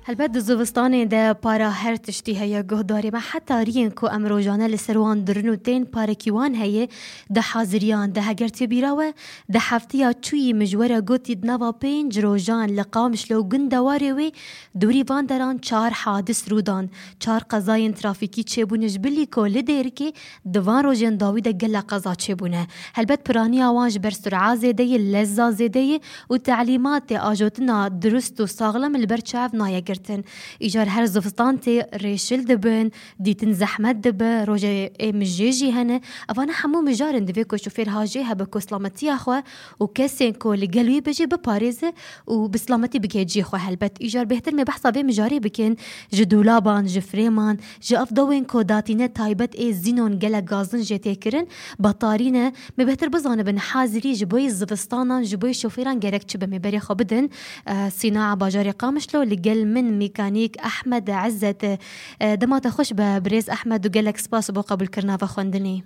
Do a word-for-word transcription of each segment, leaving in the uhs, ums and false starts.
Helbet di zivistanê de para her tiştî heye guhdarê me. Heta riyên ku em rojane li ser wan dirin û tên parekî wan heye, di haziriyan de heger tê bîra we, di heftiya çûyî min ji we re gotî di nava pênc rojan li Qamişlo û gundewarê wê dûrî van deran çar hadis rû dan. Çar qezayên trafîkî çêbûne ji bilî ku li Dêrikê di van rojên dawî de gelek qeza çêbûne. Helbet piraniya wan ji ber sur'a zêde ye, leza zêde ye û telîmatê ajotina dirust û saxlem li ber çav nayê girtin. Îcar her zivistan tê rêşil dibin, dîtin zehmet dibe, rojê ê mijê jî hene. Evana hemû mijar in, divê ku şofêr hajê hebe ku silametiya xwe û kesên ku li gel wî be jî biparêze û bi silametî bike cihê xwe. Helbet îcar bêhtir me behsa vê mijarê bikin, ji dûlaban, ji frêman, ji ev dawên ku datîne taybet ê zînon gelek gazin jê tê kirin, betarî ne. Me bêhtir bizanibin hazirî ji bo yê zivistanan, ji bo yê şofêran gerek çi be, me berê xwe bidin. Eh, Sîna bajarê Qamişlo li gel min mîkanîk Ehmed Ezzet. Eh, dema te xweş be birêz Ehmed û gelek spas bo qebûlkirina ve xwendinê.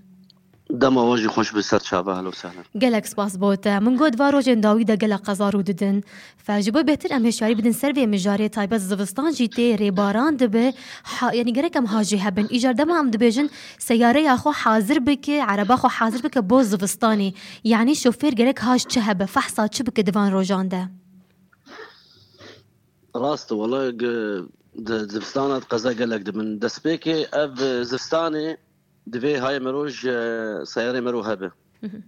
Dema we jî xweş be, ser çava, ehlen û sehlen. Gelek spas bo te. Min got va rojên dawî de gelek qeza rû didin. Fe ji bo bêhtir em hişyarî bidin ser vê mijarê, taybet zivistan jî tê, rêbaran dibe. Ha, yanî gerek em hajê hebin. Îcar dema em dibêjin seyareya xwe hazir bike, ereba xwe hazir bike bo zivistanê. Yanî şofêr gerek haj çi hebe, fehsa çi bike di van rojan de? Rast e, wele ge-, di zivistana qeza gelek dibin. Destpêkê ev, e, zivistanê divê hayê mero ji seyarê mero hebe.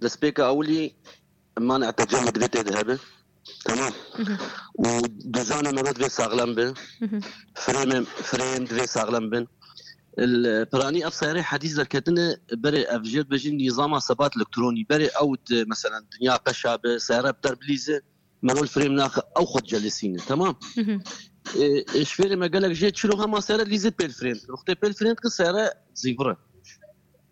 Destpêka ewilî manî tecemû divê tê de hebe. Tamam. Û duzanê mero divê saxlem be. Frêmê, frêm divê saxlem bin. Li piranî ev seyarê hedîs derketine berê ev jê dibêjin nîzama sebat elektronî. Berê ew di, meselen, dinya peşa be, seyare bi der bilîze, mero li frêm naxe, ew xwe dicelisîne. Tamam. E, e, şofêrê me gelek jê çilo hema seyare dilîze pêl frêm dikin. Wextê pêl frêm dikin seyare zîvir e.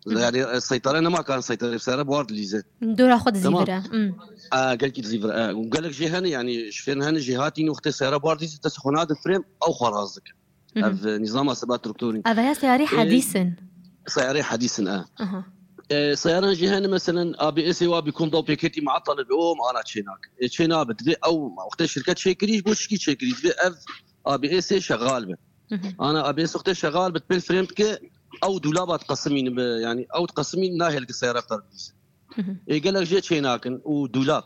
Yani, e, seytare nema karin seytare, seyare bi war dilîze. Dora xwe Tamam. dizîvire. Hmm. A, gelkî dizîvire. E, û gelek jê hene, yani, şofêrin hene jêhatîn wextê seyare bi war dilîze, dest xwe nadin frêm, ew xwe raz dikin. Ev, e, nîzama sebat elektronî. Ev ya seyarê E, hedîs in. Seyarê hedîs in, e. Aha. E, seyaran jî hene, meselen, A B S wa bî kom daw pêketî meetale be, o me ana çê nakin. E, çê nabe, divê ew, wextê şirket çêkirî, ji bo çikî çêkirî, divê ev A B S şexal be. Ana A B S wextê şexal be, pêl frêm dike, ew dûlaba diqesimîn be, yani ew diqesimîn nahêl ki seyara bi der bilîze. Ê gelek jê çê nakin û dûlab.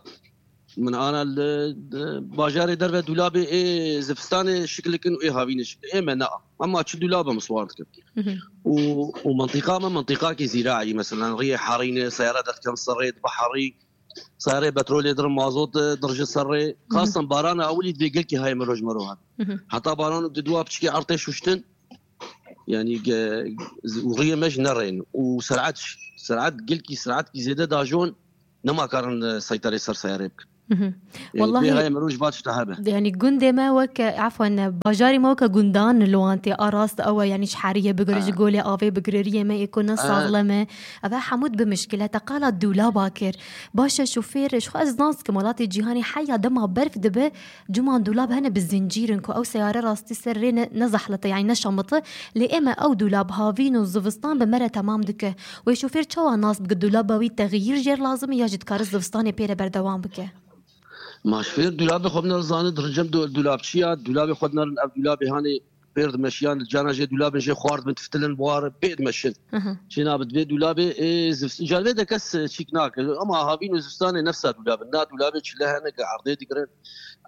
Min ana li, li bajarê derve dûlabê ê zivistanê şikilikin û ê havînê şikil. Ê me na. Ema çi dûlab em siwar dikin. Û, û mintîqa me mintîqakî zîraî, mesela riyê herîne, seyara derdikin serê, dibe herî, seyarê petrolê dirin, mazot, e, dirije ser rê. Xastan barana ewilî divê gelkî hayê mero ji mero hat. Heta baran û di dua piçikê ertê şuştin, yani ge-, û riyê me ji nerên. Û ser'et, ser'et gelkî, ser'etkî zêde dajon, nema karin, e, seytarê ser seyarê bikin. Yani Wallahî, vê hayê mero ji va tişta hebe. Yani gundê me weke, efwen, bajarê me weke gundan li wan tê. A rast ew e, yani ji heriyê bigire, ji golê avê bigire, riyê me ê ku ne saxlem e. Ev hemû dibe mişkile. Te qala dûlaba kir. Baş e, şofêr, ji xwe ez nas dikim, welatê cîhanê heya dema berf dibe, cuman dûlab hene bi zincîr in ku ew seyare rastî ser rê ne, ne zehlete, yani ne şamite. Lê ê me ew dûlab havîn û zivistan bi me re temam dike. Wê şofêr çawa nas bike dûlaba wî texyîr jêr lazim e ya jî dikare zivistanê pê re berdewam bike? Ma şofêr dûlabê xwe binere zane, dirincem du-, dûlabçiya, dûlabê xwe dinerin, ev dûlabê hanê pêr dimeşiyan, li cana jê dûlabên jê xwar dibin, tiftilin, buhar, pê dimeşin. Çê nabe divê dûlabê, ê, zivs-, carvê de kes, e, çîk nake. Ama havîn û zivistanê nefsa dûlabin. Na dûlabê çile hene, ge erdê digirin.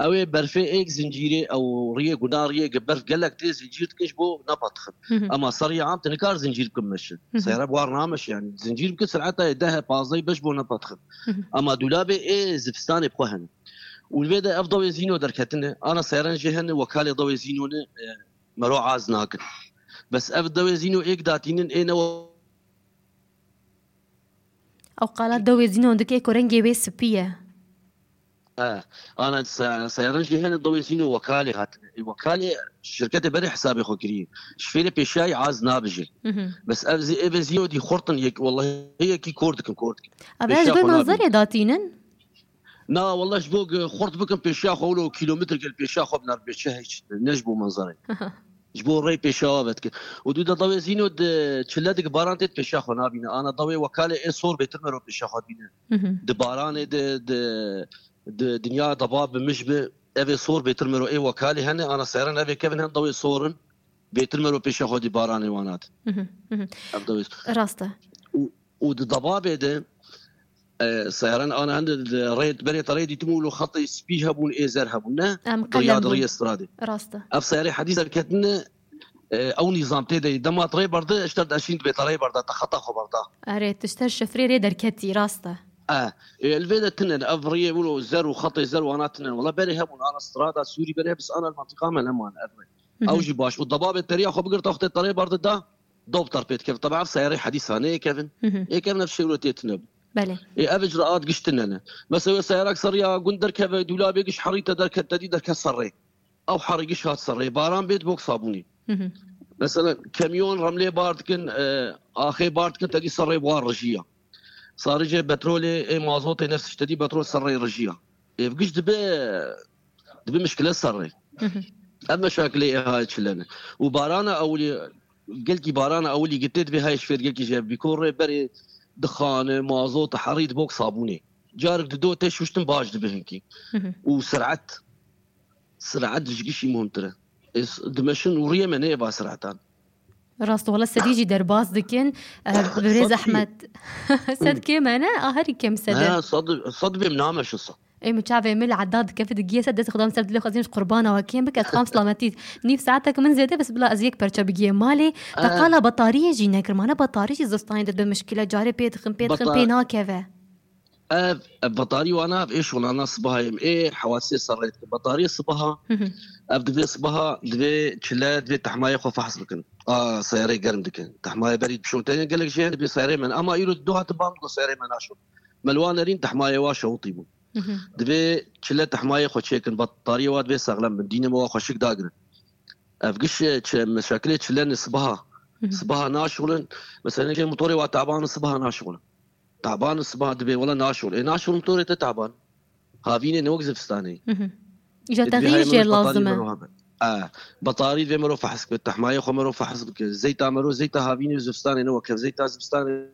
Ew ê berfê êk zincîrê, ew riyê guna riyê, ge berf gelek tê zincîr dikin ji bo nepatixin. Ama seriyê am te nikar zincîr bikin meşin. Seyara buhar nameşe yani. Zincîr bikin ser'eta yê deh pazdeh beş bo nepatixin. Ama dûlabê ê zivistanê bi xwe hene. Û li vê de ev dawê zîno derketine. Ana seyaran jê hene, wekalê dawê zîno ne, e, mero az nakin. Bes ev dawê zîno êk datînin ê ne we- Ew qala dawê zîno dike ku rengê wê spî ye. E, ana se-, seyaran jê hene dawê zîno wekalê hatine. Ê, wekalê şirketê berê hesabê xwe kiriye. Şifêrê pêşayî az nabijê. Bes ev zî-, ê ve zîno dî xurtin yek, wellahî yekî kor dikin, kor dikin. Ev ez Pêşiya goy xwe nabînin. Manzerê datînin? Na, wele ji bo ge-, xurt bikin pêşiya xwe, wilo kilometre gel pêşiya xwe binar bê çi hiç, ne ji bo manzarê. Ji bo rey pêşiya ve dikin. Û dû de dawê zîno di çile dik baran tê pêşiya xwe nabîne. Ana dawê wekalê ê sor bêtir mero pêşiya xwe dibîne. Di baranê de, di, di dinya daba bi mij bi, Evê sor bêtir mero ê wekalî hene, ana seyran evê kevin hem dawê sor in. Bêtir mero pêşa xwe dî baranê wan hat. Mhm, mhm. Ev dawê. Rast e. Û, û di debabê de, e, seyran ana hende di rê, berê te rê dîtim û lo xetê spî hebûn, ê zer hebûn, ne? Em Do ya qelem di bûn. Rêyê stradê. Rast e. Ev seyarê hedîs derketine, e, ew nîzam tê de. Dema te rê berde, ji te de eşîn dibê te rê berde, te xeta xwe berde. Erê, tu ji te şifrê rê derketî, rast e. E, e, li vê de tine, ev rêyê wilo zer û xetê zer wana tine. Wala berê hebûn, ana strada Sûrî berê, bis ana li mantiqa me neman ev rê. Mhm. Ew jî baş. Û debabê teriya xwe bigirta, xwe tê terê berde da, dawb tar pê dikevin. Teba ev seyarê hedîsa neyê kevin. Mhm. Ê kevin ev şêwro tê tine bû. Belê. Ê, ev icraat giş tine ne. Mesela wê seyarak seriya gund derkeve, dûlabê giş herî te derket, te dî derket serrê. Ew herî giş hat serrê. Baran bêt bok sabûnî. Mhm. Mesela kemiyon remlê bar dikin, e, axê bar dikin, te dî serrê wan rijiya. Sarîcê petrolê, ê mazotê nefs tiştedî petrol serrê rijiya. Êv giş dibe, dibe mişkile serrê. Mhm. Ev meşakilê ê hay çile ne. Û barana ewilî, gelkî barana ewilî gitê dibe hay şfêr gelkî jê bîko rê berê dixane, mazot, herî dibok sabûnê. Carek dido te şuştin baş dibe hinkî. Mhm. Û sirat, sirat ji gişî muhimtir e. Ê s-, dimeşin û riyê me neyê ba siratan. Rast, wala sedî jî derbas dikin. Eh, birêz Sed kêm. Ehmed. Sed kêm e, ne? A, herî kêm sed e. Ha, sed, sed bêm nameşin sed. Ê, min çavê min li eda dikeve, digiyê sed, dest Xudan ser dilê xwe zîn ji qurbana we kêm bike, ez xam selametî. Nîv saetek min zêde, bes bila ez yek perçe bigiyê malê. Te Eh. qala betariyê jî nekir, mane betarî jî zistanê de bi mişkile, carê pê dixin, pê dixin, Beta- pê nakeve. Ev, ev betarî wana, ev ê şolana sibaha em ê hewasê serrê dikin. Betarî sibaha, Hı hı. ev divê sibaha, divê çile, divê tehmayê xwe fehs bikin. A, seyarê germ dikin. Tehmayê berî bişote gelek jê hene, divê seyarê me. Ama îro du hate bang go seyarê me naşo. Me li wan nerîn tehmayê wa şewitî bû. Hı hı. Divê çile tehmayê xwe çêkin. Betariyê wa divê saxlem bin. Dînê me wa xweşik dagirin. Ev giş çi, meşakilê çile ne sibaha. Hı hı. Sibaha naşolin. Mesela, ne motorê wa taban sibaha naşolin. Taban siba dibê, wela naşol. Ê, naşol motorê te taban. Havînê ne wek zivistanê. Hı hı. Îja Ê, dibê texîr hay jê mero lazim e. Mero habe. E, betarî divê mero fehs bike, tehmayê xwe mero fehs bike. Zeyta mero, zeyta havînê û zivistanê ne wek hev. Zeyta zivistanê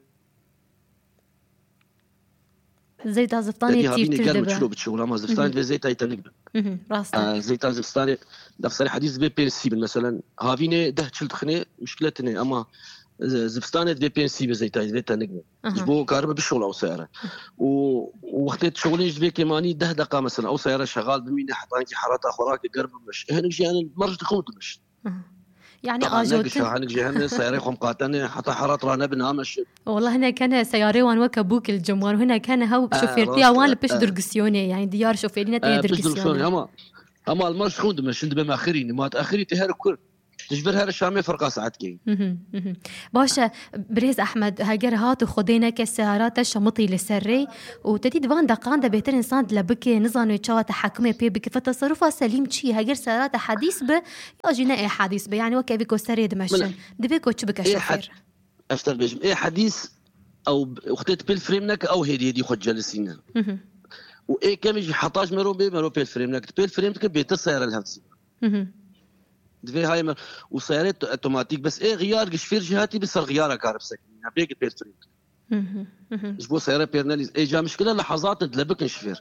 Zeyta zivistanê Te dî havînê tîrtir germ dibe. Çilo biçe, wela ma Hı hı. zivistanê divê zeyta tenik be. Hı hı, rast e. E, zeyta zivistanê, defserê hedîs divê pênc sî bin. Mesela, havînê deh çil dixinê, muşkile tine. Ama, e, zivistanê divê pênc sî be zeyta, divê tenik be. Aha. Ji bo karibe bişola o seyare. Û, û wextê şolê ji vê kêmanî deh deqa mesela o seyare şegal bimîne heta ki herata xwe rake germ bimiş. Hinek jî yani merj dixin û dimiş. Aha. Yani Taban ne ajotin. Gişa, hinek jî hene seyare xwe miqatene heta herat ra nebin ameşin. Wala hinek hene seyarê wan weke bûk li cem wan. Hinek hene hew E, şofêrtiya rast wan e, li pişt e. Durgisyonê. Yani diyar şofêrî ne tê E, pişt durgisyonê. Durgisyonê ama, ama li merj dixin û dimiş. Şimdi be me xirî, nimat axirî tê her kur. Ji vir her Şamê ferqa saetkê. Mhm, mhm. Baş e, birêz Ehmed, heger hat û Xwedê neke seyara te şemitî li ser rê û te dî di van deqan de bêtir însan dile bike, nizane çawa te hekimê pê bike. Fe teserufa selîm çi ye? Heger seyara te hedîs be ya jî ne ê hedîs be, yani weke evî ku serê dimeşin. Min Divê ku çi bike Ê şofêr? hed-, ez te bêjim, ê hedîs ew wextê tu pêl frêm neke ew hêdî hêdî xwe celisîne. Mhm. Û ê kemî jî heta ji mero bê, mero pêl frêm neke. Tu pêl frêm dike bêtir seyara li hev dizîne. Mhm. Divê hayê me û seyarê to-, otomatîk, bes ê xiyar gişfêr jî hatî bi ser xiyara kar bisekî. Ya bê ki pêl frêm. Mhm, mhm. Ji bo seyara pêr nelîz. Ê ca mişkile lehazat dile bikin şifêr.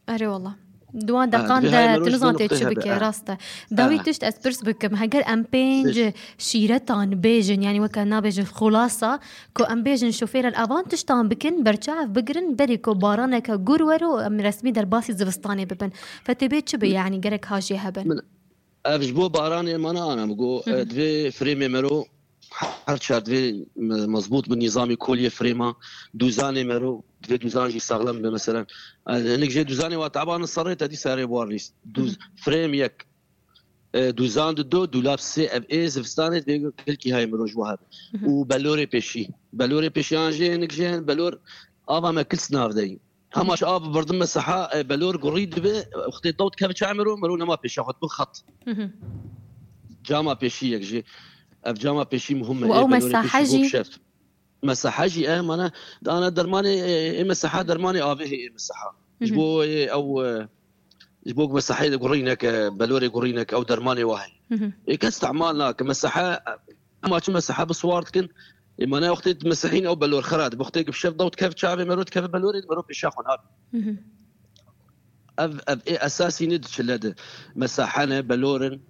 Erê wala. Di wan Ha, deqan divê hayê de mero tu ji nizan vê tê nuqteyê çi hebe. bike, Ha. rast e. Dawî Ha. tişt ez pirs bikim. Heger em pênc Biş. şîretan bêjin, yani weke nabêjin xulasa, ku em bêjin şofêr el avan tiştan bikin, berçav bigirin, berî ku baraneke gur wero, em resmî derbasî zivistanê bibin. Fetê bê çi be, yani gerek hajê hebin? Min Ev ji bo baranê mana ana, min got, Hı hı. e, divê frêmê mero her çar divê me-, mezbût bi nîzamê koliyê frêma, dûzanê mero, divê dûzan jî saxlem be, mesela. E, hinek jê dûzanê wa taban serê te dî serê war nîst. Dûz-, Hı hı. frêm yek, e, dûzan di do, dûlab sê, ev ê zivistanê divê gelkî hay mero ji wa hebe. Hı hı. Û belorê pêşî. Belorê pêşî an jê hinek jê hin, belor ava me kils nav deyî. Hema ji av birdim me seha, e, belor gurî dibe, wextê dawt keve çay mero, mero nema pêşa xwe, bi xet. Hı hı. Cama pêşî yek jî. Ev cama pêşî muhim e, Û ê ew belorê mesahe pêşî jî? bok şeft. Mesahe jî, e, mana, dana dermanê, e, ê mesaha dermanê avê hê ê mesaha. Hı Ji hı. bo, e, ew, e, ji bo mesahê de gurî neke, belorê gurî neke, ew dermanê wa heye. Hı hı. Ê kes istemal nake, mesahe, Ema çi mesehe bi siwar dikin, ê, mana wextê di mesehîn ew belor xera dibe. Wextê ki bi şev dawt kev çavê mero dikeve belorê, mero pêşa xwe nabe. Mhm. Ev, ev ê esasî ne di çile de. Mesahe ne, belor in,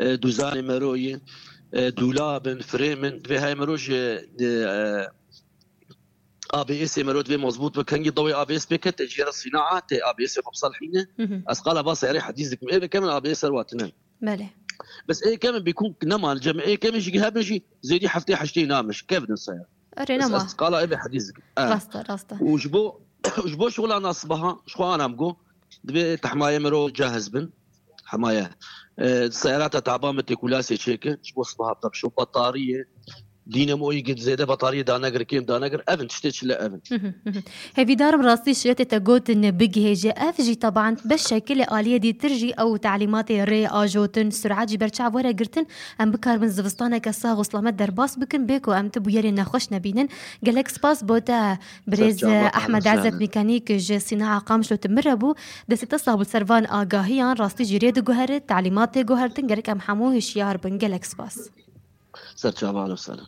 e, dûzanê mero yê, e, dûlab in, firêm in. Divê heye mero ji, e, A B S'ê mero divê mezbût be. Kengî dawê A B S pê kete, jê re sînaa tê, A B S'ê xwe bi ser hîne. Hı hı. Ez qala va seyarê hedîs dikim. Ê bike min A B S ser watine. Belê. Bes ê kemin bîkûn nema, cem ê kemin jî hebin jî zêdî heftê heştê namin, ji kevin seyar. Erê, bes nema. Ez qala ê bê hedîs dikim. E. Rast e, rast e. Û ji bo, ji bo şixulana sibaha, ji xwe anam go, divê tehmayê mero cahiz bin. Hemaye. E, seyarata taban bi têkulasê çêke, ji bo sibaha bide bi şo. Batariyê, dînemoyî gid zêde batariyê danegir, kêm danegir. Evin tiştê çile evin. Hı hı, hı hı. Hêvîdarim rastî şirêtê te gotin bigihêje. Ev jî taban bi şekilê aliyê dîtir jî ew telîmatê rê ajotin, surat jî berçav were girtin. Em bikaribin zivistaneke sax û selamet derbas bikin, bê ku em ti bûyerê nexweş nebînin. Gelek spas bo te birêz Serçava, Ehmed Ezzet Mîkanîk ji Sînaa Qamişlo tu min re bû. Destê te sax bû ser van agahiyan, rastî jî rê diguherit, telîmat tê guhertin, gerek em hemû hişyar bin. Gelek spas. Serçava, ahlen we sehlen.